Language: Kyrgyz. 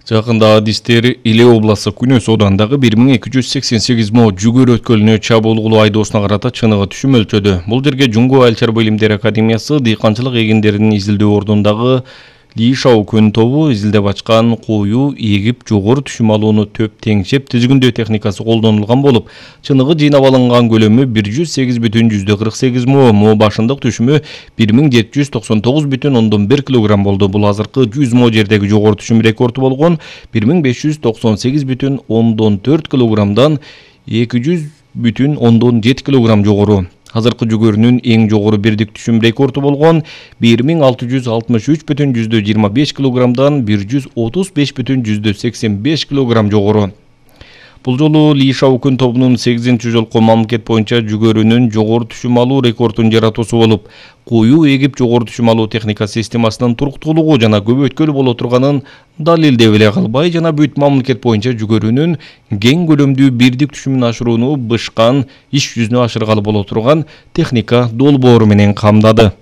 Жакында адистер Иле областы Күнөс оодандагы 1288 мо жүгөр өткөлүнө чабуул кылуу айдоосуна карата чыныгы түшүм өлчөдү. Бул жерге Жуңго Айыл чарба илимдери академиясы дыйканчылык эгиндеринин изилдөө ордундагы Лишау күн тобу изилдеп ачкан коюу эгип жогору түшүм алууну төп теңшеп тизгиндөө техникасы колдонулган болуп, чыныгы жыйнап алынган көлөмү 108,48 мо башындык түшүмү 1799,1 кг болду. Бул азыркы 100 мо жердеги жогору түшүм рекорду болгон 1598,4 кг 200,7 кг жогору. Азыркы жүгөрүнүн эң жогору бирдик түшүм рекорду болгон 1663,25 кг 135,85 кг жогору. Бул жолу Лишау күн тобунун 8-жолку мамлекет боюнча жүгөрүнүн жогору түшүм алуу рекордун жаратуусу болуп, коюу эгип жогору түшүм алуу техника системасынын туруктуулугу жана көбөйткөл боло турганын далилдеп эле калбай, жана бүт мамлекет боюнча жүгөрүнүн кең көлөмдүү бирдик түшүмүн ашырууну бышкан иш жүзүнө ашыргалы боло турган техника долбоору менен камдады.